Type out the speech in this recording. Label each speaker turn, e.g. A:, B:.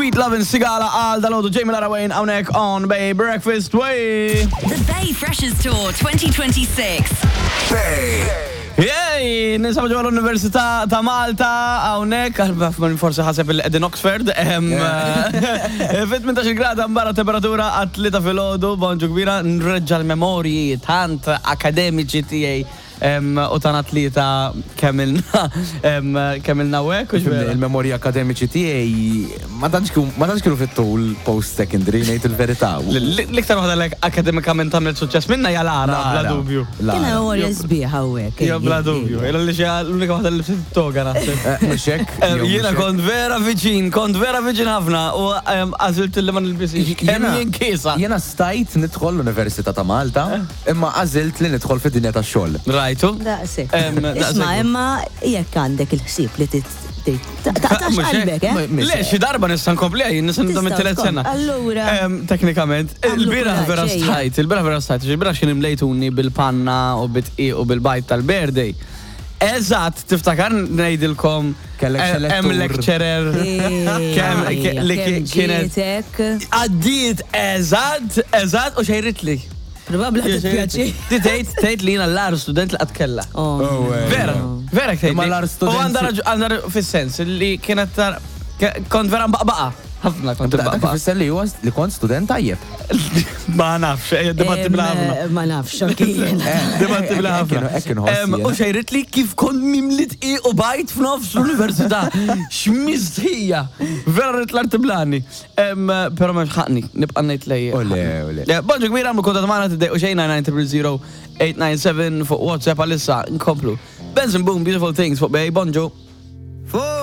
A: Sweet Lovin' Sigala għal dal-għodu Jamie Lara Wayne hawnhekk on Bay Breakfast Way.
B: The Bay Freshers Tour 2026.
C: Bay.
A: Jej, ninsabu ġewwa l-Università ta' Malta hawnhekk, forsi ħaseb il qegħdin Oxford. Fit 18 grad barra temperatura għat-tlieta filgħodu, bonġu kbira, nreġġa' l-memorji tant akademiċi tiegħi U ta' tlieta kemm ilna kemm ilna hawnhekk u x'vera.
D: Il-memorji akademiċi tiegħi ma tantx kienu fit-tul post-secondary ngħid il-verità.
A: L-iktar waħda li akademikament għamilt suċċess minnha hija Lara, bla dubju.
E: Kien memorja sbieħ hawnhekk.
A: Hija bla dubju. Illa li xi l-unika waħda li libset it-toga naħseb.
D: Mhux hekk?
A: Jiena kont vera viċin, kont vera viċin ħafna u għażilt li ma nilbisix. Kemm jien kiesa.
D: Jiena stajt nidħol l-Università ta' Malta. Imma għażilt li nidħol fid-dinja tax-xogħol.
A: Rajtu?
E: Daqshekk. Isma' imma jekk għandek il-ħsieb li taqtax qalbek, eh?
A: Le, xi darba nista' nkompliha jien nista' nibda mit-tielet sena.
E: Allura.
A: Teknikament, il-bieraħ vera stħajt, il-bieraħ vera stħajt, il-bieraħ x'kien imlejtuni bil-panna u bit-tqiq u bil-bajd tal-birthday. Eżatt, tiftakar ngħidilkom hemm lecturer kemm li kienet għaddiet eżatt, eżatt u xejritli.
E: Probabbli ħa titpjaċi.
A: Ti tgħid tgħid li jiena l-ar student li qatt kellha.
E: Oh,
A: Vera, vera tgħid.
D: Imma l-agħar student-
A: U għandha għandha fis-sens li kienet tar kont vera mbaqbaqa. Ħafna kont
D: Dak
A: imbaqbaqa.
D: ifisser li huwa li kont student tajjeb.
A: Ma nafx, ejja dibatti bla ħafna.
E: Ma nafx, anki jiena.
A: Dibatti bla ħafna.
D: Hekk inħoss
A: Em, U
D: jiena.
A: xejrit li kif kont mimli tqiq u bajt f'nofs l-università. X'mistħija. Vera rrid l-arti blani. Pero ma ħaqni, nibqa' ngħid lej.
D: Ole, ole.
A: Bonġu kbira, għamlu kuntatt magħna tiddejqu xejn 990 897 fuq WhatsApp għalissa nkomplu. Benson Boom, Beautiful Things fuq Bay, bonġu.